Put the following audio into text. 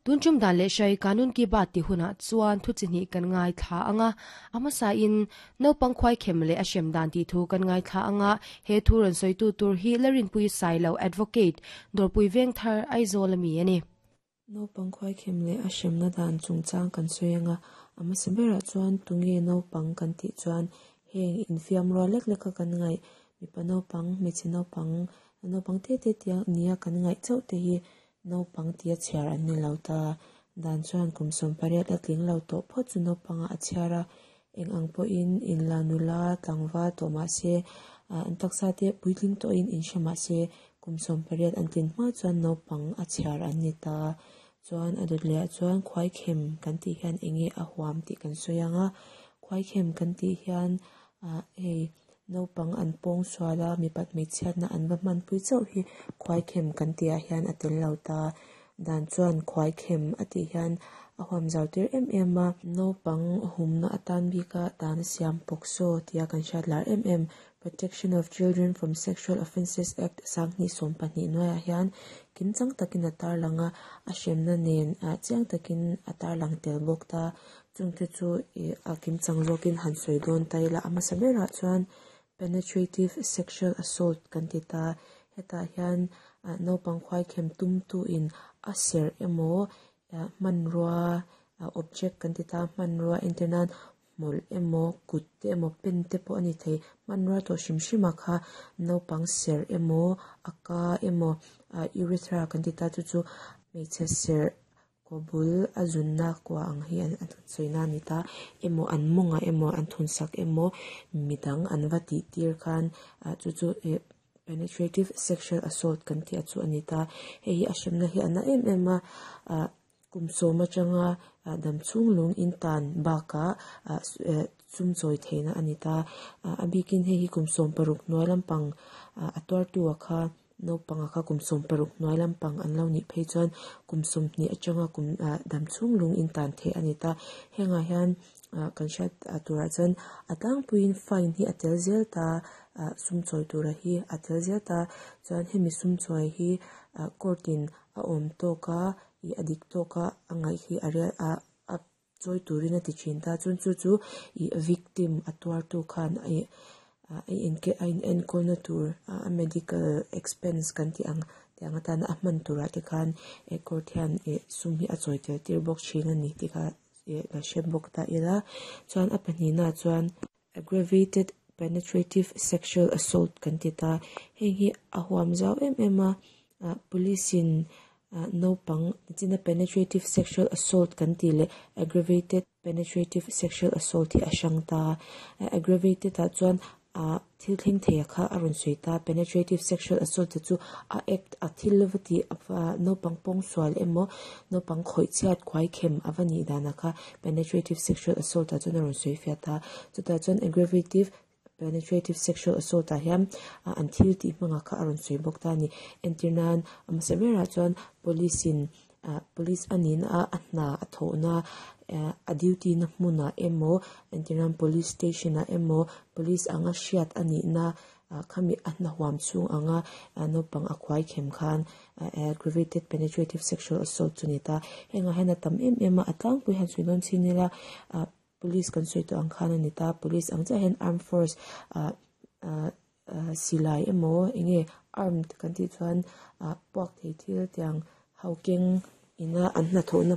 Tun tum dan leh hrai Kanun Ki Baat tih hunah chuan thu chi hnih kan ngaithla ang a, a hmasain naupang khuaikhem leh a hrem dan tih thu kan ngaithla ang a, he thu rawn sawitu tur hi Larinpui Sailo Advocate, Dawrpui Vengthar, Aizawl a mi a ni. Naupang khuaikhem leh a hremna dan chungchang kan sawi ang a, a hmasa berah chuan tunge naupang kan tih chuan heng infiam rual lek leka kan ngaih mipa naupang, hmeichhe naupang, naupang te te tia nia kan ngaih chauh te hi Naupang tia chhiar an ni lo ta. Dan chuan kum 18 a tling lo tawh phawt chu naupangah a chhiar a, eng ang pawhin inla nula tlangval tawh mah se, an taksa te puitling tawhin inhre mah se, kum 18 an tlin hma chuan naupang a chhiar an ni ta. Chuan a dawt lehah chuan khuaikhem kan tih hian eng nge a huam tih kan sawi ang a, khuaikhem kan tih hian hei Naupang an pawng sual a, mipat hmeichhiatna an va hmanpui chauh hi khuaikhem kan tihah hian a tel lo ta. Dan chuan khuaikhem a tih hian a huam zau tir em em a. Naupang humna atan bika dan a siam POCSO tia kan hriat lar em em Protection of Children from Sexual Offences Act 2012 hnuaiah hian kimchang takin a tarlang a, a hremna nen chiang takin a tarlang tel bawk ta. Chungte chu ih a kimchang zawkin han sawi dawn ta ila a hmasa berah chuan penetrative sexual assault kan ti ta hetah hian ah naupang khuaikhem tumtu in a serh emaw ah hmanrua ah object kan ti ta hmanrua entir nan hmawlh emaw kut te emaw pen te pawh a ni thei hmanrua tawh hrim hrim ah kha naupang serh emaw a ka emaw ah urethra kan ti ta chu chu hmeichhe serh Kaw bul a zunna kua ang hi an sawi na a ni ta emaw an mawngah emaw an thun sak emaw midang an va tih tir khan ah chu chu ih penetrative sexual assault kan tih a chu a ni ta hei hi a hremna hi a na em em a ah kum sawm atanga ah dam chhung lung in tan bakah ah sum chawi theihna a ni ta ah a bikin hei hi kum 16 hnuai lampang ah a tuartu ah kha. Naupanga kha kum 16 hnuai lampang an lo nih phei chuan kum 20 atanga kum dam chhung lung in tan theih a ni ta. Hengah hian kan hriat turah chuan a tlangpuiin fine hi a tel zel ta, sum chawi tura hi a tel zel ta. Chuan hemi sum chawi hi court in a awm tawk a, ih a dik tawk a a ngaih hi a rial a a chawi turin a ti thin ta. Chuan chu chu ih victim a tuartu khan ih a a in enkawlna tur a medical expense kan tih ang tih ang atana a hman turah te khan eh court hian ih sum hi a chawi tel tir bawk thin a ni tih kha ih la hre bawk ta ila. Chuan a pahnihnaah chuan aggravated penetrative sexual assault kan ti ta. Heng hi a huam zau em em a ah police in ah naupang nichina penetrative sexual assault kan tih leh aggravated penetrative sexual assault hi a hrang ta a aggravated ah chuan ah thil thleng thei a kha a rawn sawi ta penetrative sexual assault te chu a act a thil va tih naupang pawngsual emaw naupang khawih chhiat khuai khem a va nih dan ah kha penetrative sexual assault ah chuan a rawn sawi fiah ta chutah chuan aggravative penetrative sexual assault ah hian an thil tih hmangah kha a rawn sawi bawk ta a ni entir nan a hmasa berah chuan police in ah police a nihna a a hna a thawhna a duty na hmunah emaw entir nan police station ah emaw police anga hriat a nihna ah khami a hna huam chhung anga naupang a khuai khem khan aggravated penetrative sexual assault chu a ni ta hengah hian a tam em em a a tlangpui han sawi dawn chin ila ah Police kan sawi tawh ang khan a ni ta, police ang chiah hian armed force ah ah silai emaw eng nge armed kan tih chuan ah puak thei thil tiang ho keng ina an hnathawhna.